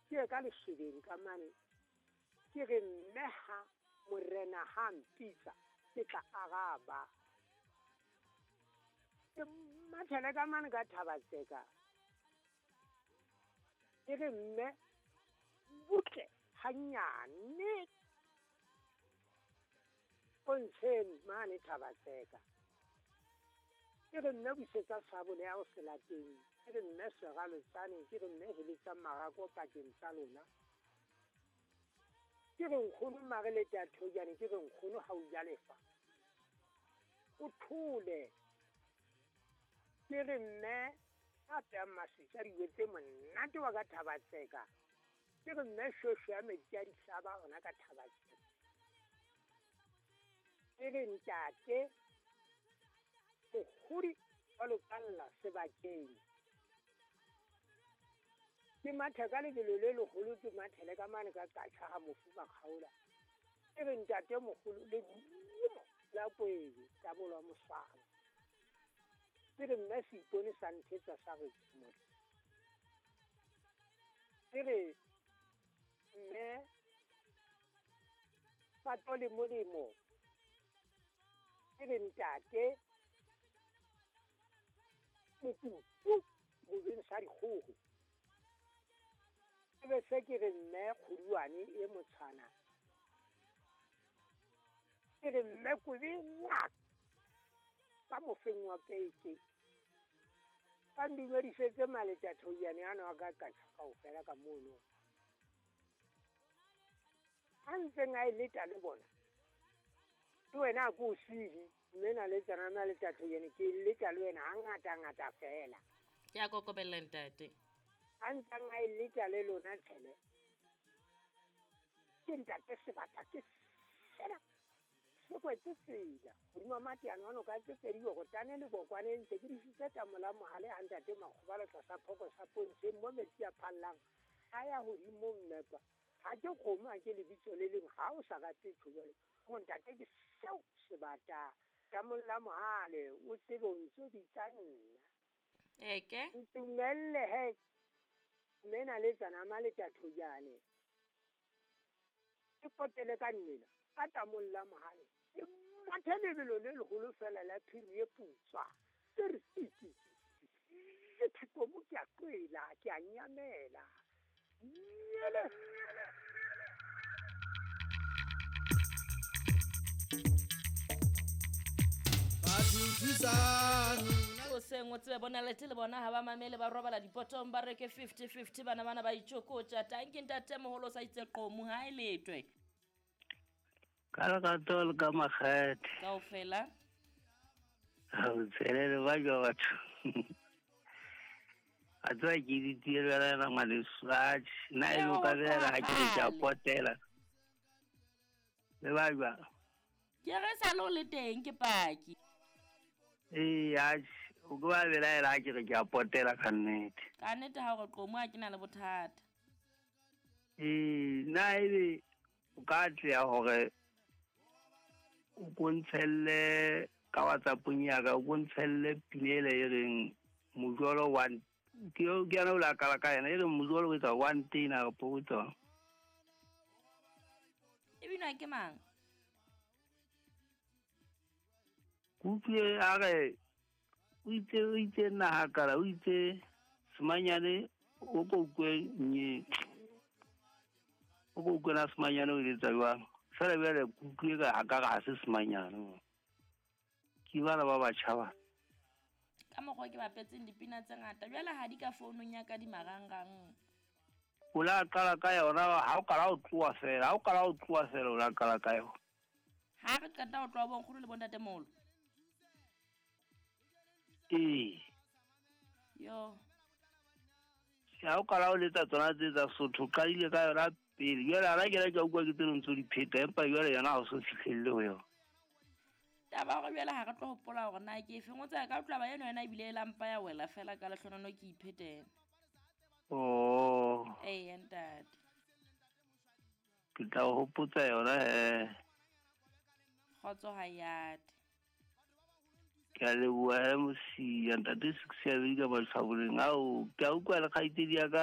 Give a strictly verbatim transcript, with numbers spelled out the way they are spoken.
Ke ye ka lešebeng ka mane ke re mme ha morena ha mpitsa ke tla araba. Ke mathele ka mane ka Thabatseka ke re mme butle hanyane pontsheng mane Thabatseka. Ke re mme busetsa sabole ya ho selateng, ke re mme seralotsane, ke re mme heletsa marako pakeng tsa lona. Ke re nkgono mare le tathojane, ke re nkgono ha o ja lefa o thole. Ke re mme a peyang maswitsa dijo tse monate wa ka Thabatseka. Ke re mme shosho ya metsi a dihlaba hona ka Thabatseka. Ke re ntate mokgodi wa lokalla sebakeng. Ke mathe ka lebelo le leholo, ke mathele ka mane ka katjha ha mofu Makgaola. Ke re ntate moholo le lerumo la kwebe tabolwa moswang. Ke re mme seipone sa nthetsa sa re motho. Ke re mme pato le molemo. Ke re ntate mokutu bobeng sa dikgoho. Ke be se ke re mme kgoduane e motshwana. Ke re mme kobe ngaka ka mofeng wa peke. Ba ndumedisetse maletathoyane ano a ka katjha kaofela ka mono. Ha ntseng a e leta le bona, le wena a ko o sihi, mme na le tsana maletathoyane ke e leta le wena hangata-ngata feela. Ke a kokobella ntate. Ha ntseng a e leta le lona tshele. Ke ntate sebata ke sena. Se kwetse tsela hodima mateano ano ka tse pedi hore le bokwane ntse ke disitse tamola mohale ha ntate Makgobalo tlasa phoko sa pontsheng mo metsi a phallang a ya hodimo mmepa. Ha ke kgomo ha ke lebitso le leng ha o sa rate tjho jwale. Ho ntate ke seo sebata tamola mohale o tsebe o ntso bitsa nna. Eke ntumelle he mme na le tsana maletathoyane. Ke potele ka nnena ka tamolla mohale. Ke mathe lebelo le leholo fela la phiri e putswa. Ke re tiki ke thikomo ke a qwela ke a nyamela. Nyele. O seng o tsebe bona lete le bona ha ba mamele ba robala dipotong ba reke fifty fifty bana bana ba itjokotja. Tanki ntate moholo sa itse qomo ha e letwe. Ka lerato le ka makgethe. Kaofela. Ha o tshelele ba jwa batho. A tswa ke ditiela la ngwaneso. Atjhe, nna e lo ka bela ha ke re ke a potela. Le ba jwa. Ke re sa lo le teng ke paki. Ee, atjhe, o ke ba belaela ha ke re ke a potela ka nnete. Ka nnete ha o re qomo ha ke na le bothata. Ee, nna ebe o ka atleha hore o ko ntshelle ka WhatsApp-ong ya ka, o ko ntshelle pina ele e reng mojolo one. Ke ke yona o la kala ka yena e reng mojolo o etsa one tena kapo o etsa. E binwa ke mang? Kutlwe a re o itse o itse nna ha kala o itse semanyane o ko utlwe nye. O ko utlwe na semanyane o etsa jwang. Fela bjale kutlwe ka ha ka ga se semanyane. Ke bana ba batjha ba. Ka mokgwa ke bapetseng dipina tse ngata jwale ha di ka founung ya ka di marangrang. O la qala ka yona ha o qala o tloha fela, ha o qala o tloha fela o la qala ka yona. Ha re qeta ho tloha bonkgono le bontate moholo. Ee. Yo. Ha o qala o letsa tsona tse tsa Sotho, qadile ka yona pele. Jwale ha ke la ke utlwa ke tseno ntso di pheta, empa jwale yona ha o so fihlelle ho yona. Taba hore jwale ha re tlo hopola hore na ke efeng, o tsaya ka utlwa ba eno yona ebile e lampa ya wela fela ka lehlonono ke iphetela. Oh. Ee, ntate. Ke tla o hopotsa yona he. Kgotso ha yate. Ke a leboha he Mosia, ntate Six ya ka Matlhaboleng. Ao, ke a utlwa le kgaitsedi ya ka